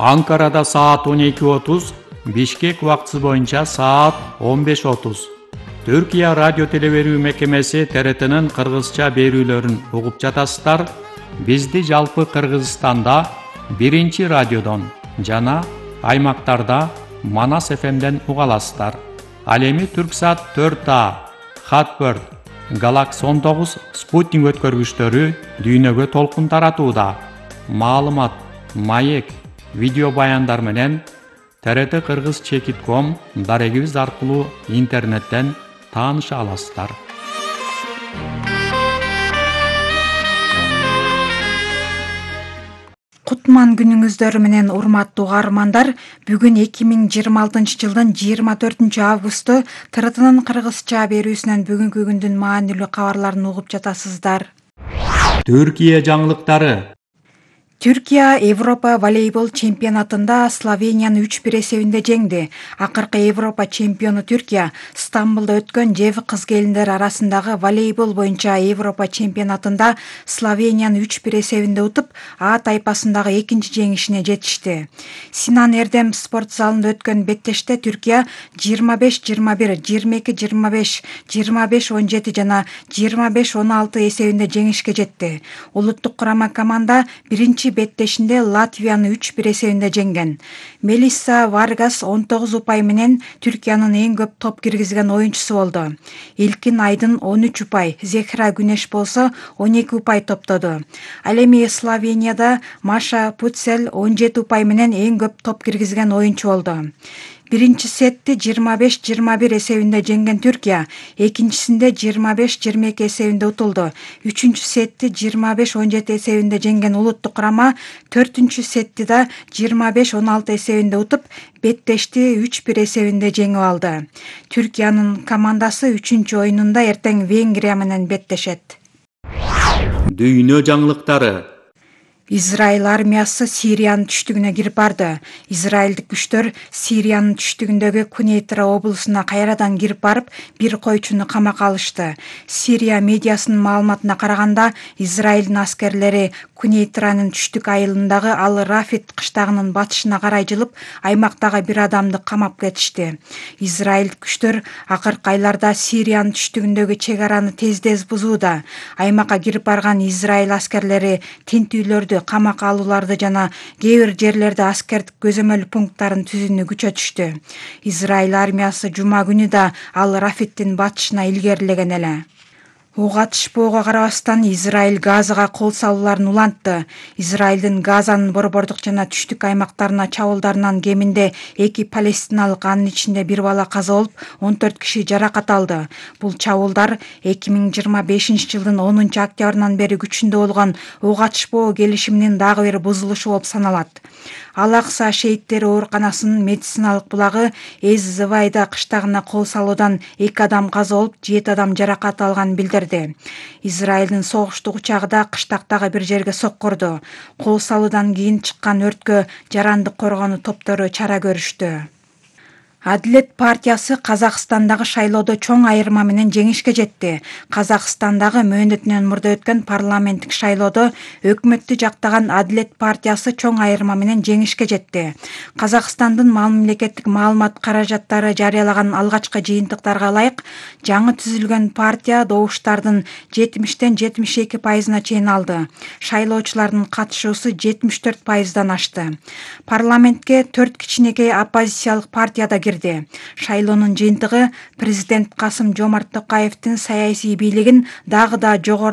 Анкарада саат 12:30, Бишкек убактысы боюнча саат 15:30. Түркия радио телеберүү мекемеси ТРТнын кыргызча берүүлөрүн угуп жатасыздар. Бизди жалпы Кыргызстанда 1 радиодон жана аймактарда Манас ФМден уга аласыздар. Ал эми Түрксат 4А, Хатбird, Galaxy 19 спутник өткөргүчтөрү дүйнөгө толкун таратууда. Маалымат, маек, видео баяндар менен TRT Кыргыз Чекит.com дарегибиз аркылуу интернеттен тааныша аласыздар. Кутман күнүңүздөр менен урматтуу угармандар, бүгүн 2026 жылдын 24 августу ТРТнын кыргызча берүүсүнөн бүгүнкү күндүн маанилүү кабарларын угуп жатасыздар. Түркия жаңылыктары. Түркия Европа волейбол чемпионатында Словенияны 3-1 эсебинде жеңди. Акыркы Европа чемпиону Түркия Стамбулда өткөн ЖЭВ кыз-келиндер арасындагы волейбол боюнча Европа чемпионатында Словенияны 3-1 эсебинде утуп, А тайпасындагы экинчи жеңишине жетишти. Синан Эрдем спорт залында өткөн беттеште Түркия 25-21, 22-25, 25-17 жана 25-16 эсебинде жеңишке жетти. Улуттук курама команда биринчи беттешинде Латвияны 3-1 эсебинде жеңген. Мелисса Варгас 19 упай менен Түркиянын эң көп топ киргизген оюнчусу болду. Илкин Айдын 13 упай, Зехра Күнеш болсо 12 упай топтоду. Ал эми Словенияда Маша Путцель 17 упай менен эң көп топ киргизген оюнчу болду. Биринчи сетти 25-21 эсебинде жеңген Түркия, экинчисинде 25-22 эсебинде утулду. Үчүнчү сетти 25-17 эсебинде жеңген улуттук курама төртүнчү сетти да 25-16 эсебинде утуп, беттешти 3-1 эсебинде жеңип алды. Түркиянын командасы 3-чү оюнунда эртең Венгрия менен беттешет. Дүйнө жаңылыктары. Израиль армиясы Сириянын түштүгүнө кирип барды. Израилдик күчтөр Сириянын түштүгүндөгү Кунейтра облусуна кайрадан кирип барып, бир койчуну камакка алышты. Сирия медиасынын маалыматына караганда, Израилдин аскерлери Кунейтранын түштүк айылындагы Ал-Рафит кыштагынын батышына карай жылып, аймактагы бир адамды камап кетишти. Израиль күчтөр акыркы айларда Сириянын түштүгүндөгү чек араны тез бузууда. Аймакка кирип барган Израиль аскерлери тинтүүлөрдү, камакка алууларды жана кээ бир жерлерде аскердик көзөмөл пункттарын түзүүнү күчөтүштү. Израиль армиясы жума күнү да Ал-Рафиттин батышына илгерилеген эле. Ок атышпоого карабастан Израиль Газага кол салууларын улантты. Израилдин Газанын борбордук жана түштүк аймактарына чабуулдарынан кеминде 2 палестиналык, анын ичинде бир бала каза болуп, 14 киши жаракат алды. Бул чабуулдар 2025 жылдын 10 октябрынан бери күчүндө болгон ок атышпоо келишиминин дагы бир бузулушу болуп саналат. Ал-Акса шейиттери ооруканасынын медициналык булагы Эз-Завайда кыштагына кол салуудан 2 адам каза болуп, 7 адам жаракат алганын билдирди. Израилдин согуштук учагы да кыштактагы бир жерге соккурду. Кол салуудан кийин чыккан өрткө жарандык коргонуу топтору чара көрүштү. Адилет партиясы Казакстандагы шайлоодо чоң айырма менен жеңишке жетти. Казакстандагы мөөнөтүнөн мурда өткөн парламенттик шайлоодо өкмөттү жактаган Адилет партиясы чоң айырма менен жеңишке жетти. Казакстандын мамлекеттик маалымат каражаттары жарыялаган алгачкы жыйынтыктарга ылайык, жаңы түзүлгөн партия добуштардын 70-72% чейин алды. Шайлоочулардын катышуусу 74%дан ашты. Парламентке 4 кичинекей оппозициялык партия да кирди. Шайлоонун жыйынтыгы президент Касым Жомарт Токаевдин саясий бийлигин дагы да жогорулатты.